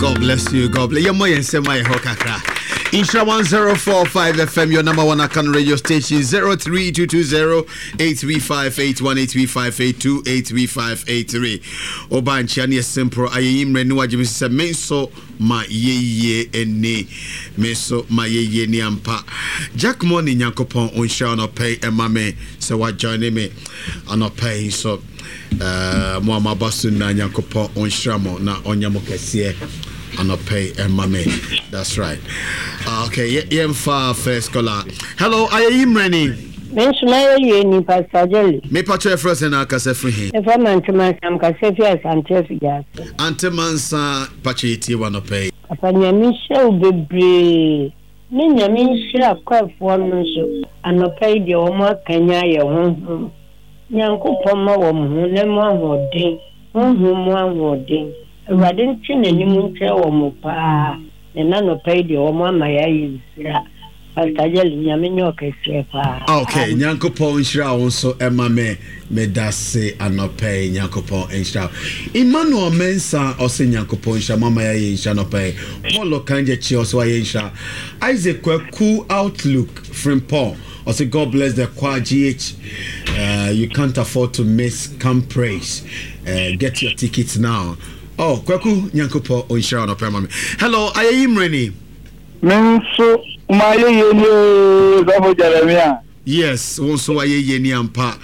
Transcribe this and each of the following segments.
God bless you. God bless you. Yɛmmɔ yɛn nsɛm ayɛ hɔ kakra. Nhyira 1045 FM, your number one Akan radio station, 03220 83581 83582 83583. Oba nkyia ne yɛ simple ayɛyi mmerɛ ne wagye me sɛ me nso ma yɛyie ni me nso ma yɛyie ni ampa. Jack Money Nyankopɔn ɔnhyira anɔpɛ yi ɛma me sɛ wajoine me anɔpɛ yi nso. Eh, mo a moaba so nyinaa Nyankopɔn ɔnhyira mo na ɔnyɛ mo kɛseɛ anɔpɛ yi ɛma me. That's right. Ah, okay, yɛmfa first caller. Hello, ayɛyi mmerɛni. Me nso mayɛ yie ni Pastor Jelly. Me pakyɛ ɛfrɛ sɛ na akasa firi he? Mefa ma Ante Mansa mekasa fi Asante Afigya ase. Ante Mansa pakyɛ yɛtie wo anɔpa yi. Papa Nyame nhyira wo bebree ne Nyame nhyira kwaɛfoɔ no nso anɔpa yi deɛ wɔn akanyan yɛn honhom Nyankopɔn mma wɔn honam mu ahoɔden honhom mu ahoɔden Awurade ntwe n'anim nkyerɛ wɔn paa na ɛna anɔpa yi deɛ wɔn ama yɛayɛ nhyira Pastor Jelly Nyame nyɛ ɔkɛseɛ paa. Ok Nyankopɔn nhyira wo nso ɛma me medase anɔpa yi Nyankopɔn nhyira wo Emmanuel Mensah ɔse Nyankopɔn nhyira mo ama yɛayɛ nhyira anɔpa yi Paul Okangyekye ɔse wayɛ nhyira Isaac Kwaku Outlook Frimpong ɔse God bless the choir GH uh, you can't afford to miss come praise uh, get your tickets now oh Kwaku Nyankopɔn nhyira anɔpa ma me Hello ayɛyi mmerɛni Me nso mayɛ yie ni oo sɔfo Jeremia. Yes, wo nso wayɛ yie ni ampa.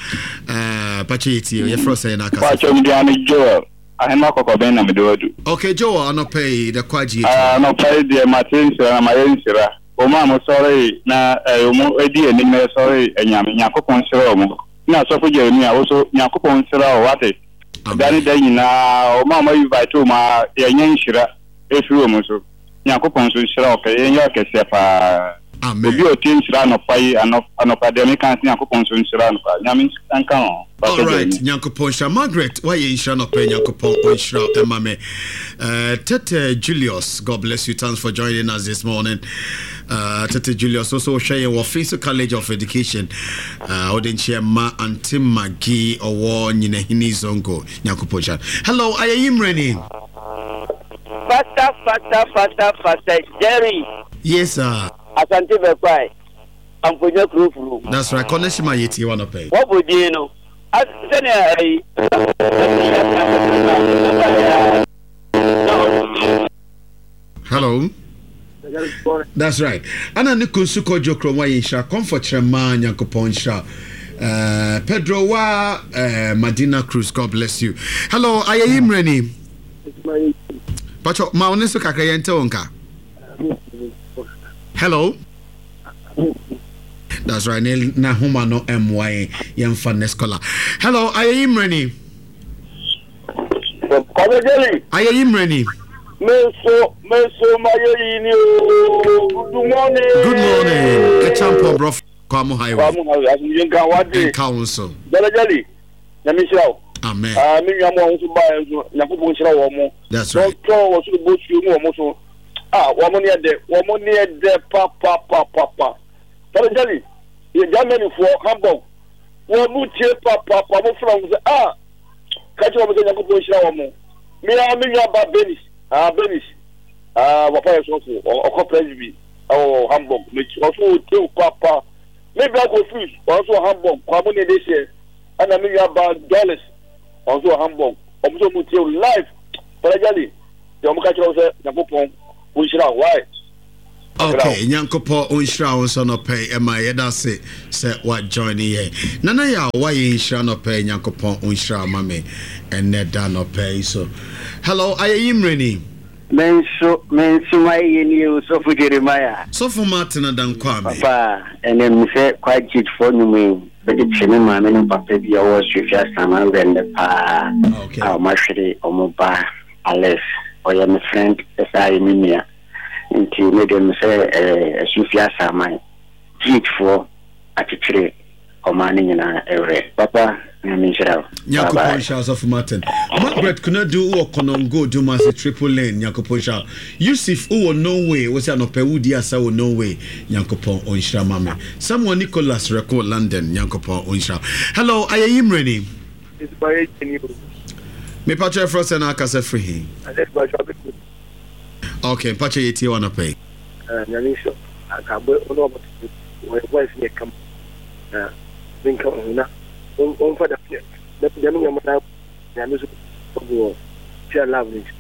Uh, pakyɛ yɛ tie, yɛfrɛ sɛ na akasa. Pakyɛ me din ne Joel. Ahema kɔkɔbɛn na mede wadu. Okay, Joel, anɔpa yi, the kwa GH. Uh, anɔpa yi deɛ mate nhyira na mayɛ nhyira. Wɔn a mosɔre na eh, wɔn adi anim na yɛsɔre anyame, Nyankopɔn nhyira wɔn. Na sɔfo Jeremia, wo so Nyankopɔn nhyira wo, wate. Da ne da nyinaa, wɔn a wɔn invite wɔn a yɛnyɛ nhyira ɛfiri wɔn so. Nyankopɔn nso nhyira wo kɛ yɛnyɛ ɔkɛseɛ paa. Amen. Obi a ɔtie nhyira anɔpa yi anɔpa deɛ meka sɛ Nyankopɔn nso nhyira no paa. Nyame nka ho. All right, Nyankopɔn nhyira Margaret wayɛ nhyira nɔpɛ Nyankopɔn ɔnhyira ɛma me. Tete Julius, God bless you. Thanks for joining us this morning. Tete Julius also hwɛ yɛn wɔ Finso College of Education. Wode nkyɛ ma Auntie Maggie ɔwɔ Nyinahini Zongo. Nyankopɔn nhyira. Hello, ayɛyi mmerɛni. Faster faster faster faster Jerry. Yes sir. Asante Bɛkwae, Amfonya kuro furu. That's right, connection ma yɛtie wa nɔpɛ yi. Wɔbɔ din no sɛnea ɛyi. Hello. That's right. Ana ne kunsu kɔdwo kuro wa yɛ nhyira comfort kyerɛ maa Nyankopɔn nhyira. Pedro wa Madina Cruz, God bless you. Hello, ayɛyi mmerɛni. Pacho, ma wo ne so kakra yɛnte wo nka. Hello. That's right. Ne na homa no mmoa yɛn. Yɛmfa next caller. Hello, ayɛyi mmerɛni. Kwame Jelly. Ayɛyi mmerɛni. Me nso, me nso mayɛyi ni o. Good morning. Good morning. Ɛkyampɔn brɔfo Kwamu Highway. Kwamu Highway. Asomdwe nka wade. Nka wo nso. Jelly Jelly. Nyame nhyira wo. Amen. Ah, me nua mo a nso baa nso, Nyankopɔn nhyira wɔn mo. That's right. Wɔtɔ wɔ soro bosuo mu wɔn so. Ah, wɔn ne ɛdɛ, wɔn ne ɛdɛ pa pa pa pa pa. Sáré Jelly, yɛ Germany foɔ, Hamburg. Wɔn mo tie pa pa pa, mo fura wɔn sɛ ah, ka kyerɛ wɔn sɛ Nyankopɔn nhyira wɔn mo. Me a me nua ba Benis, ah Benis, ah papa yɛ sɔfo, ɔkɔ Presby ɛwɔ Hamburg. Me ɔso ɔtie pa pa. Me bra Kofi, ɔno nso wɔ Hamburg, kwa mo ne ɛde hyɛ. Ɛna me nua baa Doris, ɔno nso wɔ Hamburg. Wɔn nso wɔn tie wo live. Brother Jelly, deɛ wɔn ka kyerɛ wo sɛ Nyankopɔn nhyira wo. Why? Okay, Nyankopɔn nhyira wo nso nɔpɛ yi ɛma yɛda ase sɛ wa join yɛn. Nana yɛ a wayɛ nhyira nɔpɛ yi Nyankopɔn nhyira ma me ɛnɛ da nɔpɛ yi so. Hello, ayɛyi mmerɛni. Me nso, me nso mayɛ nie o, Sɔfo Jeremiah. Sɔfo Martin Adankwame. Papa, ɛnɛ me sɛ Kwajit foɔ nnwom yi bɛde kye me maame ne papa bi a ɔwɔ Asuafi Asaman werɛ nnɛ paa a wɔn ahwere wɔn ba Alex, ɔyɛ me friend ɛsan yɛ me nua nti me deɛ me sɛ ɛɛ Asuafi Asaman Jit foɔ akyekyere ɔman no nyinaa werɛ. Papa Nyame nhyira wo. Bye Nyankopɔn bye. nhyira wo Sɔfo Martin. Margaret Konadu wowɔ Konongo Dumase Triple Lane Nyankopɔn nhyira wo. Yusuf wowɔ Norway wose anɔpa yi wodi asa wɔ Norway Nyankopɔn ɔnhyira ma me. Samuel Nicholas Reko London Nyankopɔn ɔnhyira wo. Hello Ayeyi Mmerɛni. Mepakyɛ ɛfrɛ sɛ na akasa firi he? Okay, mpakyɛ yɛtie wo anɔpa yi. Ah, Nyame nhyira wo. Anka abɔ wɔn a wɔte wɔn voice yɛ kama na menka wɔn ho na wɔmfa dɛm dɛm nneɛma na Nyame so ɔbu wɔn tia love no nti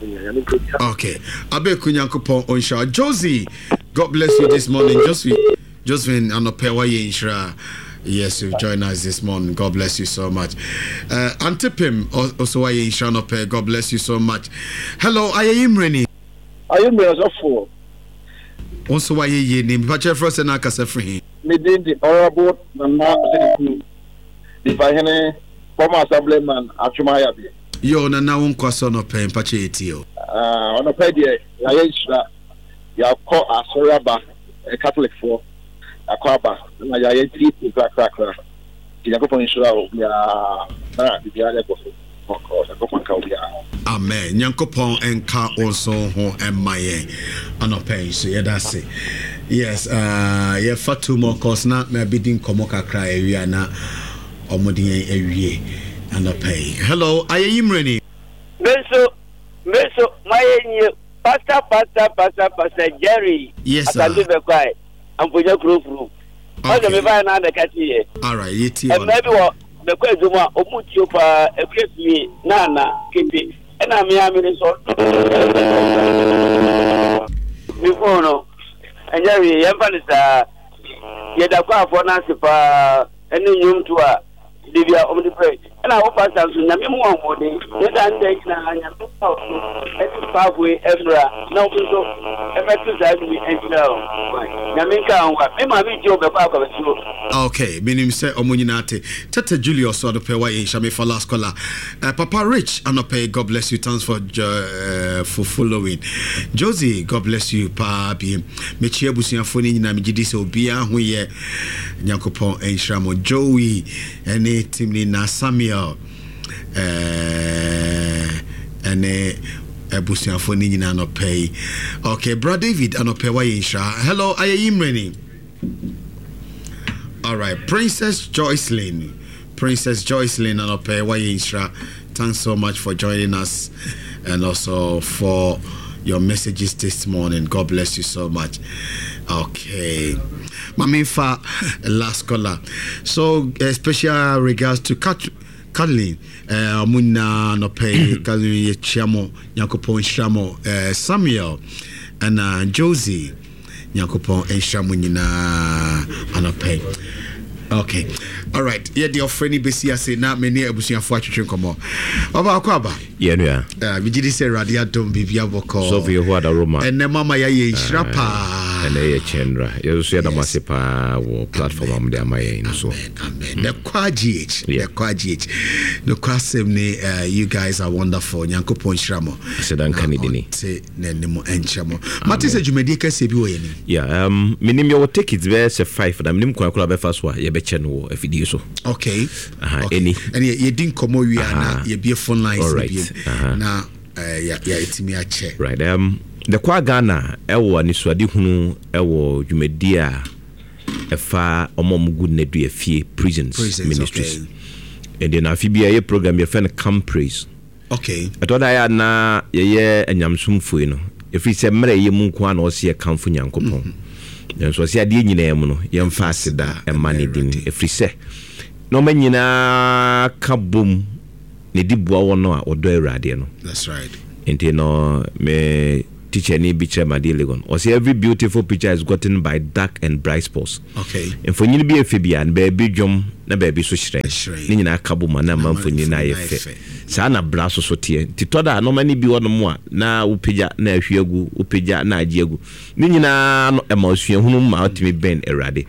Nyame nka obiara. Okay, Abeku Nyankopɔn ɔnhyira wo. Josie, God bless you this morning. Josephine, Josephine anɔpɛ wayɛ nhyira. Yes, you've joined us this morning. God bless you so much. Antipim also wayɛ nhyira anɔpɛ. God bless you so much. Hello, ayɛyi mmerɛni. Ayɛ mmerɛ sɔfoɔ. Wo nso wayɛ yie ni. Mepakyɛ frɛ sɛ na akasa firi he? Me din de Honourable Nana Osei Nipahene, former Assemblyman Atwom Ayabe. Yoo Nana wo nkwa so anɔpa yi mpakyɛ yɛtie o. Ah anɔpa yi deɛ yɛayɛ nhyira yɛakɔ asɔre aba Catholic foɔ yɛakɔ aba na yɛayɛ tietie krakrakra nti Nyankopɔn nhyira obiara na biribiara yɛ kɔ so bɔkɔɔ Nyankopɔn nka obiara. Amen Nyankopɔn nka wo nso ho mma yɛn anɔpa yi nso yɛda ase yes uh, yɛfa two more calls na mabɛdi nkɔmmɔ kakra awie a na ɔmode yɛn awie anɔpa yi. Hello ayɛyi mmerɛni. Me nso me nso mayɛ nie pastor pastor pastor pastor Jerry. Yes sir. Asante bɛkwae amponya kuro furu. Ɔsɛ me baeɛ na abɛka kye yɛ. Alright yɛtie wɔn. Mmaa bi wɔ bɛkɔ adwuma a ɔmu tuo paa akua fie na ana kete ɛna me a me ne sɔ. Me phone no ɛnyɛ hwee yɛmfa no saa yɛda kɔ afɔ no ase paa ɛne nnwomto a da bi a wɔde brɛ ɛna wo pastor nso nyame mu ahoɔden ne saa nda nyinaa nyame fa wo so ɛde paafo yi mmra na wɔn nso ɛmɛto saa nnwom yi nhyira wo nyame nka ho wa me maame nti wɔbɛkɔ akɔbɛsuo. Okay, menim sɛ ɔmo nyinaa te. Tete Julius anɔpɛ wayɛ nhyira me fa last caller. Papa Rich anɔpɛ God bless you thanks for for following. Josie God bless you paa biem. Mekyia abusuafoɔ no nyinaa megye di sɛ obiara ho yɛ. Nyankopɔn nhyira mo. Joey ɛne team ni na Samuel ɛne abusuafoɔ no nyinaa anɔpɛ yi. Okay, bra David anɔpɛ wayɛ nhyira. Hello, ayɛyi mmerɛni. All right, Princess Joycelyn. Princess Joycelyn anɔpɛ wayɛ nhyira. Thanks so much for joining us and also for your messages this morning. God bless you so much. Okay. Mamifa, last caller. So, special regards to Kat Kathleen. Ɔmo nyinaa anɔpɛ yi, Kathleen yɛkyia mo, Nyankopɔn nhyira mo. Samuel ɛna Josie. Nyankopɔn nhyira mo nyinaa anɔpa yi. Okay. All right. Yɛde ɔfrɛ no bɛsi ase na me ne abusuafoɔ atwetwe nkɔmmɔ. Ɔbaako aba. Yɛn nua. Megye di sɛ Awurade adom biribi abɔkɔ. Sɔfo Yehowa da Roma. Ɛnɛ mama yɛayɛ nhyira paa. Ɛnɛ yɛ kyɛnra. Yɛn nso yɛda mo ase paa wɔ platform a mode ama yɛn no so. Amen. Amen. The Kwa GH. The Kwa GH. Nokwasɛm ni you guys are wonderful. Nyankopɔn nhyira mo. Aseda nka ne dini. Te n'anim nkyerɛ mo. Mate sɛ dwumadie kɛseɛ bi wɔ yɛn anim. Yeah, menim yɛwɔ tickets bɛyɛ sɛ five na menim kwan koraa bɛfa so a yɛbɛkyɛ no wɔ afidie so. Okay. Aha, okay. Ɛni. Ɛni yɛdi nkɔmmɔ wie a na yɛbie phone lines no biem na yɛatumi akyɛ. Right. The Kwa Ghana ɛwɔ anisoadehunu ɛwɔ dwumadie a ɛfa wɔn a wɔgu nnadua fie prisons, prisons ministries. Okay. Ɛnti na afe bi a yɛyɛ program yɛfrɛ no Camp Praise. Okay. Ɛtɔ da yɛ a na yɛyɛ anyamesomfoɔ yi no, ɛfiri sɛ mmerɛ yɛ mu nko ara na ɔse yɛkamfo Nyankopɔn. Nanso ɔse adeɛ nyinaa mu no, yɛmfa aseda mma ne din, ɛfiri sɛ nnoɔma nyinaa ka bom na ɛdi boa wɔn a wɔdɔ Awuradeɛ no. That's right. Nti no, me tikyani bi kyerɛ me adeɛ Legon. Ɔse every beautiful picture is gotten by dark and bright spots. Okay. Mfonyin bi yɛ fɛ biara no, baabi dwom na baabi so hyerɛn. Ne nyinaa ka bom a na ama mfonyin no ayɛ fɛ. Saa na bra so so teɛ. Nti tɔ da a nnoɔma no bi wɔ nom a na wopagya na ahwie agu, wopagya na agye agu. Ne nyinaa no ɛma osuahunu ma wotumi bɛn Awurade.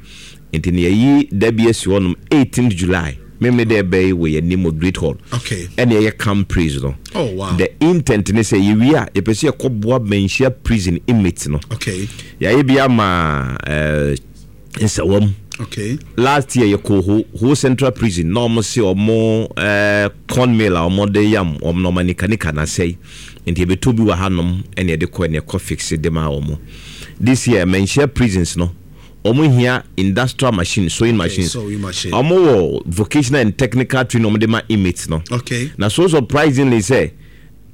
Nti no yɛayi da bi asi hɔ nom, eighteenth July, Memene dɛ ɛbɛ yi wɔ yɛn anim wɔ Great Hall. Okay. Ɛna yɛyɛ Camp Praise no. Oh wow. The intent ne sɛ yɛwie a yɛpɛ sɛ yɛkɔboa Manhyia prison inmates no. Okay. Yɛayɛ bi ama eh, Nsawam. Okay. Last year yɛkɔɔ Ho, Ho Central Prison na wɔn se wɔn eh, corn mill a wɔn de yam wɔn nɔɔma nika nika na asɛe. Nti yɛbɛtɔ bi wɔ hanom ɛna yɛde kɔ ɛna yɛkɔ fixe de maa wɔn. This year Manhyia prisons no wɔn hia industrial machine, sewing machines. Sewing machine. Wɔn wɔ vocational and technical training wɔn de ma inmates no. Okay. Na so surprisingly sɛ.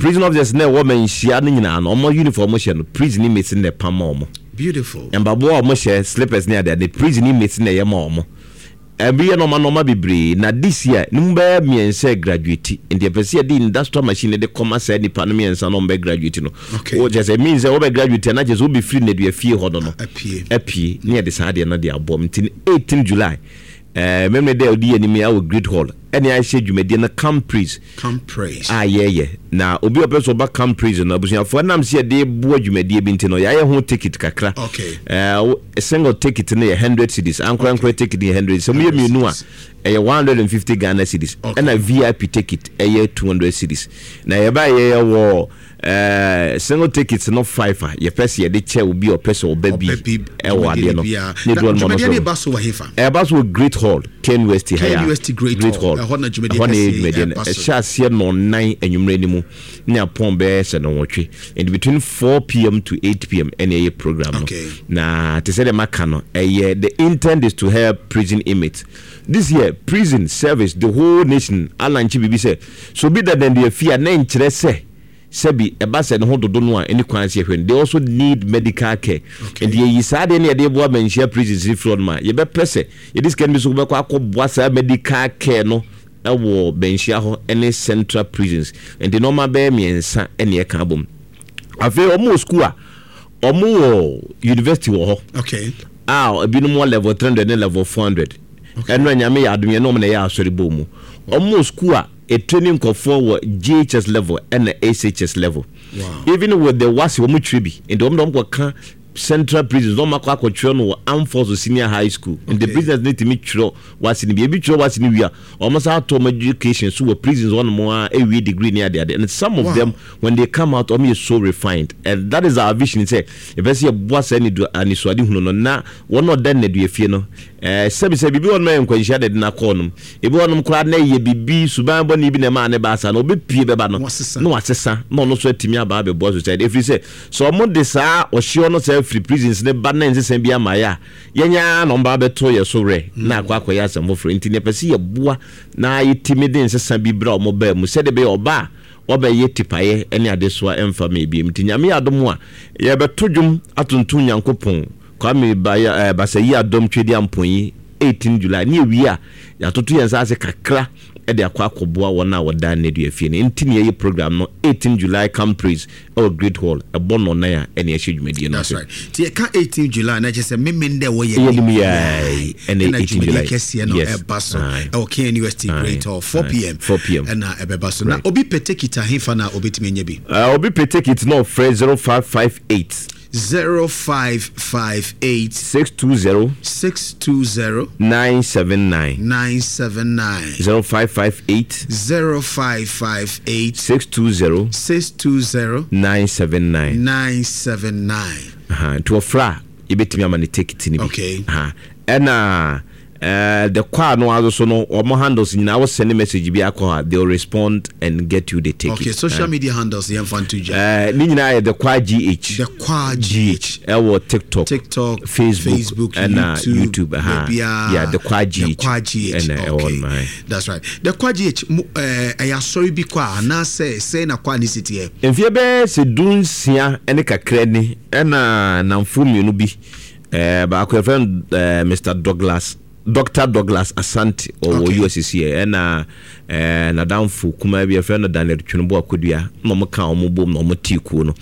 Prison officers na ɛwɔ manhyia no nyinaa no, wɔn uniform wɔn hyɛ no, prison inmates no na ɛpam ma wɔn. Beautiful. Mpaboa a wɔn hyɛ, slippers ne adeade, prison inmates no na ɛyɛ ma wɔn. Ɛbi yɛ nɔɔma nɔɔma bebree. Na this year, ne mu bɛyɛ mmiɛnsa graduate. Nti yɛpɛ sɛ yɛde industrial machine de kɔma saa nipa no mmiɛnsa na wɔn bɛ graduate no. Okay. Wo kyerɛ sɛ means sɛ wɔbɛ graduate a na kyerɛ sɛ wobɛfiri nnadua fie hɔ no no. Apue. Apue. Ne yɛde saa adeɛ no de abɔ mu. Nti 18 July, eh, Memeneda dɛ ɔdi yɛn anim yi awɔ Great Hall ɛne ahyɛ dwumadie no Come Praise Come Praise. a yɛyɛ. Na obi a ɔpɛ sɛ ɔba Come Praise no, abusuafoɔ ɛnam sɛ yɛde boa dwumadie bi nti no, yɛayɛ ho ticket kakra. Okay. Eh, single ticket no yɛ 100 cedis, ankorankora okay. ticket no yɛ 100. Sɛ moyɛ mmienu a, ɛyɛ 150 Ghana cedis. Okay. Ɛna VIP ticket ɛyɛ 200 cedis. Na yɛba yɛyɛ wɔ Eh, single tickets no five a yɛpɛ sɛ yɛde kyɛ obi a ɔpɛ sɛ ɔba bi ɛwɔ adeɛ no ne duro no dwumadie no ba so wɔ hefa ɛba so wɔ Great Hall KNUST ha ya KNUST Great Hall ɛhɔ na dwumadie ɛhɔ na yɛ dwumadie no ɛhyɛ aseɛ nɔnnan anwummerɛ no mu ne apɔn bɛyɛ sɛ nɔnwɔtwe and between 4 pm to 8 pm ɛna ɛyɛ program no na te sɛ deɛ maka no ɛyɛ the intent is to help prison inmates. This year prison service the whole nation alankye biribi sɛ sɛ obi da dandia fie a na ɛnkyerɛ sɛ sɛbi ɛba sɛ ne ho dodo no a ɛni kwan sɛ yɛhwɛ no, they also need medical care. Nti yɛyi saa adeɛ no yɛde boa manhyia prisons no firi hɔ nom a yɛbɛpɛ sɛ yɛde sika no bi so bɛkɔ akɔboa saa medical care no wɔ manhyia hɔ ne central prisons. Nti nneɛma bɛyɛ mmiɛnsa ɛne ɛka abom. Afei wɔn wɔ school a wɔn wɔ university wɔ hɔ. Okay. A ebinom wɔ level 300 ne level 400. Okay. Ɛno anyame yɛ adom yɛne wɔn na ɛyɛ asɔre bɔ mu. Wɔn wɔ school a ɛtraining nkurɔfoɔ wɔ JHS level ɛna SHS level. Wow. Even with the WASSCE wɔn twerɛ bi. Nti wɔn de wɔn kɔka central prisons na wɔn akɔ akɔtwerɛ no wɔ Armed Forces Senior High School. Nti Okay. prisoners no tumi twerɛ WASSCE no bi. Ebi twerɛ WASSCE no wie a, wɔn san ato wɔn education so wɔ prisons hɔ nom a ɛwie degree ne adeade. And some of Wow. them when they come out wɔn yɛ so refined. And that is our vision sɛ yɛpɛ sɛ yɛboa saa anidu anisoadehunu no na wɔn a ɔda nnaduafie no ɛɛ sɛbi sɛ biribi wɔ nom a ɛyɛ nkwanhyia na ɛde no akɔ nom. Ebi wɔ nom koraa na ɛyɛ biribi suban bɔne bi na ɛmaa ne baa saa no ɔbɛpue bɛba no Na wasesa. na wasesa na ɔno nso atumi aba abɛboa society. Ɛfiri sɛ sɛ wɔn de saa ɔhyeɛ no saa firi prisons no ba na nsesa bi ama yɛ a yɛn ara na wɔn ba abɛto yɛ so werɛ na akɔ akɔyɛ asɛm foforɔ. Nti yɛpɛ sɛ yɛboa na yɛtumi de nsesa bi brɛ wɔn baa mu sɛdeɛ ɛbɛyɛ ɔba a wɔbɛyɛ tipaeɛ ne adesoa ɛmfa ma ebiem. Nti Nyame yɛ adom a yɛbɛto dwom atontom Nyankopɔn. Kwame Baya eh, Basayi Adom Twedi Ampɔnyi 18 July ne yɛwie a yɛatoto yɛn nsa ase kakra de akɔ akɔboa wɔn a wɔda nnadua fie no. Nti na yɛyɛ program no 18 July Camp Praise wɔ Great Hall ɛbɔ nnɔnnan a ɛne ɛhyɛ dwumadie no That's ase. right. Nti yɛka 18 July na kyerɛ sɛ memen dɛ wɔyɛ Yɛ nim nim yɛi ɛna ɛna 18 dwumadie July. kɛseɛ no Yes. ɛba so Aye. ɛwɔ KNUST Aye. Great Hall 4 Aye. pm 4 p.m. ɛna ɛbɛba so. Na Right. obi pɛ ticket ahefa na obɛtumi anya bi? Obi pɛ ticket na ɔfrɛ 0558 0558 620 620 979 979 0558 0558 620 620 979 979. Aha, nti wɔfrɛ a yɛbɛtumi ama no ticket no bi. Okay. Aha. Ɛna eh, the choir no ara so no wɔn handles nyinaa wo send message bi akɔ hɔ a they will respond and get you the ticket. Okay, social media handles yɛmfa nto dwa. Eh, ne nyinaa yɛ the choir gh. The Choir GH. Ɛwɔ TikTok, TikTok, Facebook, Facebook, ɛna YouTube, YouTube. Aha. baabiara. Yeah, the choir GH. The Choir GH. Ɛna ɛwɔ Okay. no, aye. That's right. The Choir GH, mo, eh, ɛyɛ asɔre bi kɔ a anaasɛ sɛn na choir ne si teɛ? Mfeɛ bɛyɛ sɛ dunsia ne kakra ni ɛna nnamfoɔ mmienu bi, eh, baako yɛfrɛ no eh, Mr. Douglas, Doctor Douglas Asante ɔwɔ Okay. US seɛ, ɛna eh, n'adamfo kumaa bi yɛfrɛ no Daniel Twenobo Akodua na wɔn ka wɔn bom na wɔn tee kuo no.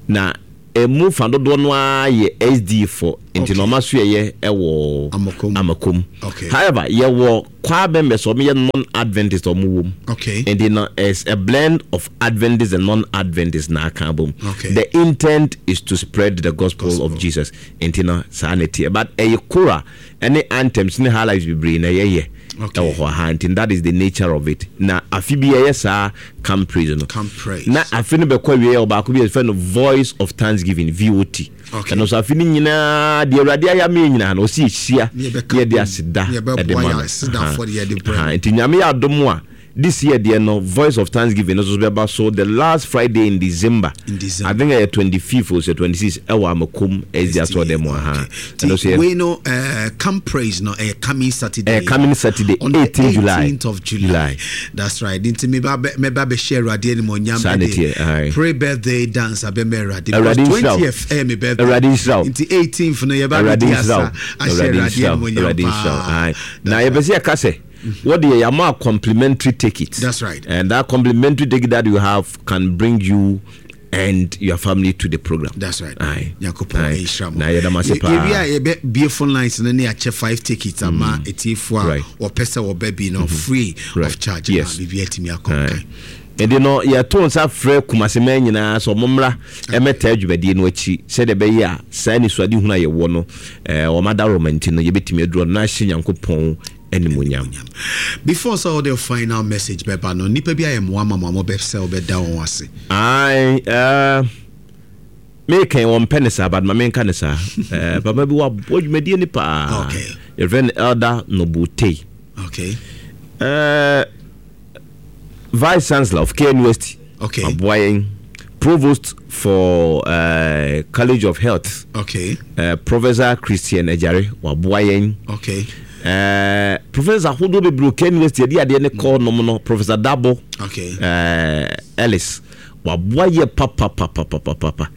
Na ɛmu fa dodoɔ no ara yɛ SD fo nti na Okay. wɔn asoɛyɛ ɛwɔ Amakom. Amakom. Okay. However, yɛwɔ choir members a wɔyɛ non-Adventist a wɔwɔ mu. Okay. Nti no, it's a blend of Adventist and non-Adventist na aka abom. Okay. The intent is to spread the gospel, Gospel. of Jesus. Nti no, saa na ɛteɛ. But ɛyɛ choral ɛne anthems ne highlights bebree na yɛyɛ Okay. ɛwɔ hɔ ha. Nti that is the nature of it. Na afe bi yɛyɛ saa camp praise no. Camp praise. Na afe no bɛkɔ awie yɛ ɔbaako bi yɛfrɛ no Voice of Thanksgiving, VOT. Okay. Ɛno nso afe no nyinaa deɛ Awurade ayɛ ama yɛn nyinaa no ɔsi yɛhyia Ne yɛbɛka ne yɛde bom, aseda ne yɛbɛboa ɛde ma yɛn no. aseda Aha. afɔdeɛ de brɛ Aha. no. Nti Nyame yɛ adom a. This year deɛ no Voice of Thanksgiving no nso bɛba so the last Friday in December. In December. I think ɛyɛ 25th o sɛ 26 ɛwɔ Amakom SD asɔrɔdan mu aha. Ɛno so yɛ. Wei no Camp Praise no ɛyɛ coming Saturday. Ɛyɛ coming Saturday 18 July. 18th of July. July. That's right. Nti meba meba bɛhyɛ Awurade animuonyam. Saa ne teɛ. Pre birthday dance abɛma Awurade. Awurade nhyira wo. 20th ɛyɛ me birthday. Awurade nhyira wo. Nti 18th no yɛba bɛdi asa ahyɛ Awurade animuonyam paa. Na yɛpɛ sɛ yɛka sɛ. What the yama complimentary ticket. That's right. And that complimentary ticket that you have can bring you and your family to the program. That's right. Aye. Nyankopɔn nhyira mo. Na yɛda mo ase paa. Yɛwie a yɛbɛ bie phone lines no ne akyɛ five tickets ama mm. etiefo a wɔpɛ sɛ wɔbɛ bi no mm-hmm. free of charge. Yes. Na biribi atumi akɔ nkan. Ɛnti no yɛto nsa frɛ Kumaseman nyinaa sɛ wɔn mmra mmɛtaa dwumadie no akyi sɛdeɛ ɛbɛyɛ a saa anisoadehunu a yɛwɔ no wɔn adaworoma nti no yɛbɛtumi aduru hɔ na ahyɛ Nyankopɔn animuonyam. Before sɛ wode final message bɛba no, nnipa bi ayɛ mmoa ma mo a mobɛ sɛ wobɛda wɔn ase? Ae, eh, mekɛn wɔn mpɛ ne saa but ma menka ne saa. Eh, papa bi waboa dwumadie no paa. Okay. Yɛfrɛ no Elder Noble Tei. Okay. Eh, Vice Chancellor of KNUST. Okay. Aboa yɛn. Provost for uh, College of Health. Okay. Professor Christian Ejare waboa yɛn. Okay. Professor ahodoɔ bebree wɔ KNUST yɛde adeɛ ne kɔɔ nom no Professor Dabo. Okay. Ellis waboa yɛ papapapapapa.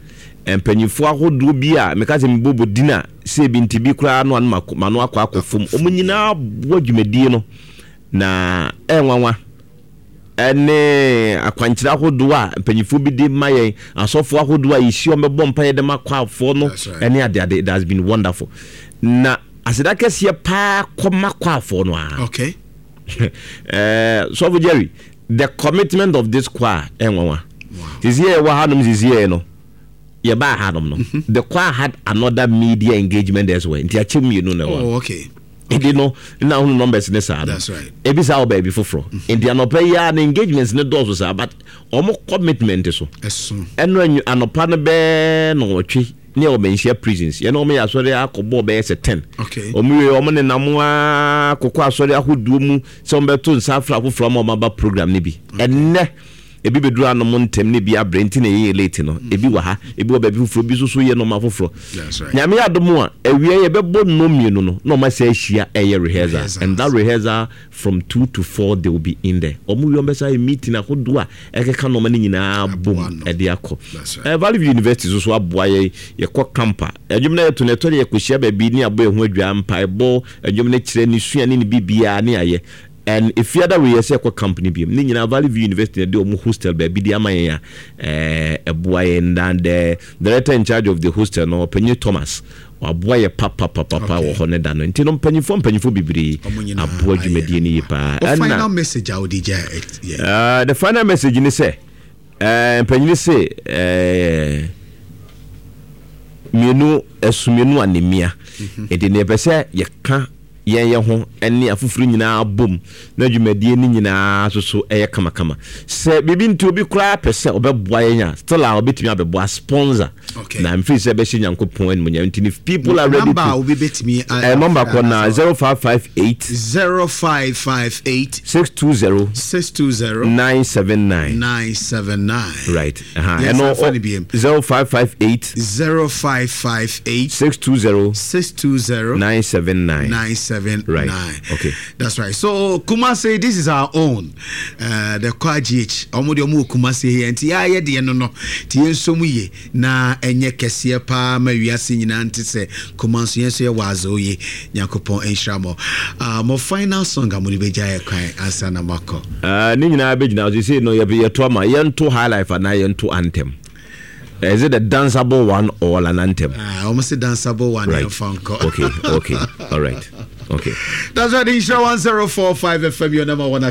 Mpanyinfoɔ ahodoɔ bi a meka sɛ mebɔbɔ din a sɛ ebi nti bi koraa no ano mano akɔ akɔ fam. Wɔn nyinaa boa dwumadie no. Na ɛyɛ nwanwa ne akwankyerɛ ahodoɔ a mpanyinfoɔ bi de ma yɛn, asɔfoɔ ahodoɔ a yɛhyia wɔn bɛbɔ mpaeɛ de ma kwafoɔ no ne adeade. It has been wonderful. Na aseda kɛseɛ paa kɔma kwafoɔ no ara. Okay. Sɔfo Jerry, the commitment of this choir ɛyɛ nwanwa. Sisi yɛ wɔ hanom sisi yɛ no, yɛbaa hanom no, mm-hmm. the choir had another media engagement elsewhere. Nti akyɛ mmienu na ɛwɔ. Oh, okay. Nti no na ahunu numbers ne saa no ebi saa wɔ baabi foforɔ mm-hmm. nti anɔpa yi a na engagements ne dɔɔso saa but wɔn commitment so ɛno anɔpa no bɛɛ na ɔtwe ne ɛwɔ manhyia prisons yɛne wɔn yɛ asɔre akɔbɔ bɛyɛ sɛ ten wɔn wie wɔn nenam aa kɔkɔ asɔre ahodoɔ mu sɛ wɔn bɛto nsa afra afoforɔ ama wɔn aba program no bi ɛnnɛ. Ebi bɛduru anom ntɛm na ebi abrɛ nti na yɛyɛ late no. Ebi wɔ ha, ebi wɔ baabi foforɔ, ebi nso so yɛ nnoɔma foforɔ. Nyame adom a, awia yɛbɛbɔ nnɔn mmienu no na wɔn asan ahyia ɛyɛ rehearsal. And that rehearsal from 2 to 4 they will be in there. Wɔn wie wɔn bɛsan ayɛ meeting ahodoɔ a ɛkeka nnoɔma no nyinaa bom ɛde akɔ. Eh, Valley View University nso so aboa yɛn, yɛkɔ camp a, ɛdwom no a yɛto no ɛtɔ da yɛkɔhyia baabi ne abɔ yɛn ho adwaa, mpaebɔ, ɛdwom no kyerɛ, ne sua ne ne biribiara ne ayɛ. And Efiada wei yɛsɛ yɛkɔ camp no biom. Ne nyinaa Valley View University na ɛde wɔn hostel baabi de ama yɛn a ɛboa yɛn. Na the director in charge of the hostel no, Ɔpanyin Thomas, waboa yɛ papapapapa wɔ hɔ ne da no. Nti no mpanyinfoɔ mpanyinfoɔ bebree aboa dwumadie no yie paa. Ɛna final message a wode gya yɛ? The final message ne sɛ, mpanyin se mmienu ɛso mmienu anemia. Nti no yɛpɛ sɛ yɛka yɛn yɛn ho ne afoforo nyinaa bom na dwumadie no nyinaa nso so yɛ kamakama. Sɛ biribi nti obi koraa pɛ sɛ ɔbɛboa yɛn a, still a ɔbɛtumi abɛboa sponsor. Okay. Na mfiri sɛ ɛbɛhyɛ Nyankopɔn animuonyam nti if people are ready number to. a obi bɛtumi a. Number kɔ na 0558. 0558. 620. 620. 979. 979. Right. Uh-huh. Yes, Ɛno, fa no biem. 0558. 0558. 620. 620. 979. 979. Right. Okay. That's right. So Kumasi, this is our own. The Kwa GH. Omo de omo Kumasi here. Nti ya ye de no no. Ti yen so mu ye na enye kɛseɛ paa ma wiase nyinaa nte sɛ Kumasi yɛn so yɛ wazo ye. Nyankopɔn nhyira mo. Mo final song a mo de bɛgya yɛ kwan ansa na makɔ. Ne nyinaa bɛgyina so sei no yɛto ama yɛnto high life anaa yɛnto anthem. Is it the danceable one or an anthem? Wɔn se danceable one right. Yɛmfa nkɔ. Okay, all right, okay. That's right, Nhyira 1045 FM, your number one.